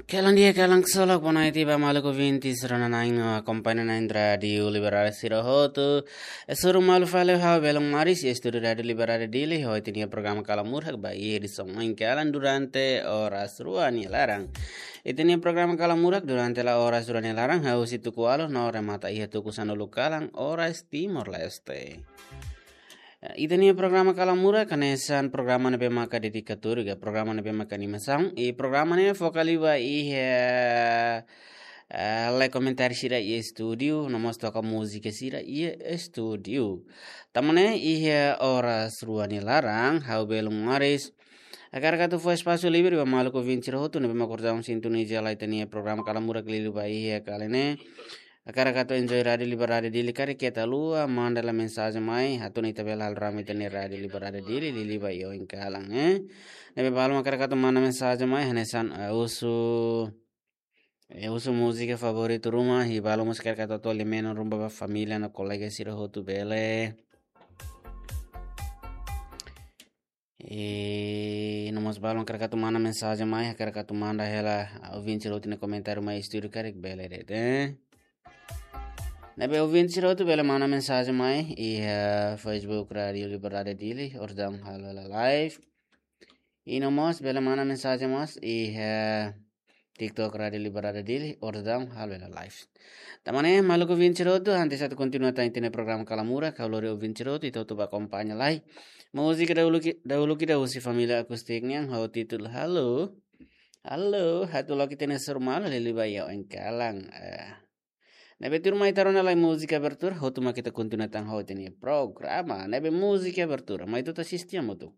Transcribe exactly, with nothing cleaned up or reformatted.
Kalan di'ak, kalan ksolok, boa noite ba maluk ouvinte sira-ne'ebé akompaña ona iha Rádiu Liberdade sira hotu. Hasoru malu fali ho ha'u Belun Maris, estúdiu Rádiu Liberdade Dili, ho ita-nia programa Kalamurhak ba iha edisaun oin kalan durante oras rua nia laran. Ita-nia programa Kalamurhak durante la oras rua nia laran, hahú husi tuku ualu no remata iha tuku sanulu kalan oras Timor-Leste. Ita-nia programa Kalamurhak hanesan programa ne'ebé maka dedikatóriu, ka programa ne'ebé maka animasaun, i programa ne'e foka liu ba iha, eh, lee komentáriu sira iha estúdiu, no mós toka múzika sira iha estúdiu. Tanba ne'e iha oras rua nia laran, ha'u Belun Maris hakarak atu fó espasu livre ba maluk ouvinte sira hotu ne'ebé maka orsida sintoniza hela ita-nia programa Kalamurhak liuliu ba iha kalan ne'e. Hakarak atu enjoy Rádiu Liberdade Dili karik keta haluha manda hela mensajen mai, atu nune'e ita bele halo rame ita-nia Rádiu Liberdade Dili liuliu ba iha oin kalan, eh. Ne'ebé balun hakarak atu manda mensajen mai, hanesan, eh, husu, eh, husu múzika favoritu ruma, i balun mós hakarak atu atu lee menon ruma ba família no kolega sira hotu bele. I no mós balun hakarak atu manda mensajen mai, hakarak atu manda hela, ah, ouvinte sira hotu nia komentáriu mai estúdiu karik bele de'it, eh. Ne'ebé ouvinte sira hotu bele manda mensajen mai iha, eh, Facebook Rádiu Liberdade Dili, orsida halo hela live. I no mós bele manda mensajen mós iha, eh, TikTok Rádiu Liberdade Dili, orsida halo hela live. Tanba ne'e maluk ouvinte sira hotu, antes atu kontinua tan ita-nia programa Kalamurhak, ha'u lori ouvinte sira hotu, ita hotu bá akompaña lai. Múzika dahuluk, dahuluk ida husi família Akustik nian, ho títulu Halo. Halo, ha'u atu loke ita-nia hasoru malu liuliu ba iha oin kalan, eh. Ne'ebé tuirmai ita rona lai múzika abertura, hotu mak ita kontinua tan ho ita-nia programa. Ne'ebé múzika abertura, mai ita hotu asiste hamutuk.